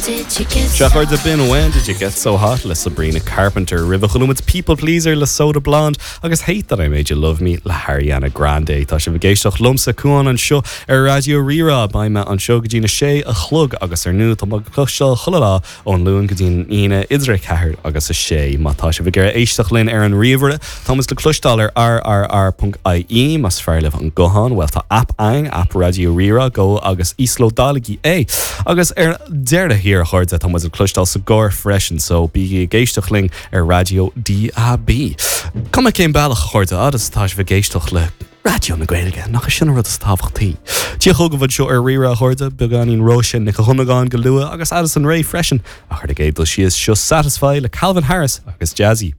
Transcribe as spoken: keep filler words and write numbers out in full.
Sea a chairde b'in When Did You Get So Hot le Sabrina Carpenter roimhe chuala muid People Pleaser le Soda Blonde agus Hate That I Made You Love Me le Ariana Grande Tá sibh ag éisteacht liomsa Cuán anseo ar Raidió Rí-Rá beidh mé anseo go dtí a sé a chlog agus ar ndóigh tá le cloisteáil chuile lá ón Luan go dtí an Aoine idir a ceathair agus a sé má tá sibh ag éisteacht linn ar an ríomhaire Tá muid le cloisteáil ar rrr.ie más fearr libh an guthán well tá app againn app Raidió Rí-Rá go agus íoslódálaigí é agus ar deireadh thiar a chairde tá muid le cloisteáil sa gcarr freisin so bígí ag éisteacht linn ar raidió DAB. Cuma cén bealach a chairde agus tá sibh ag éisteacht le Raidió na Gaeilge nach sin rud is tábhachtaí. Dia chugaibh anseo ar Rí-Rá a chairde beagáinín Róise Nic Dhonnagáin go luath agus Addison Rae freisin a chur ag éadal síos seo Satisfy le Calvin Harris agus Jazzy.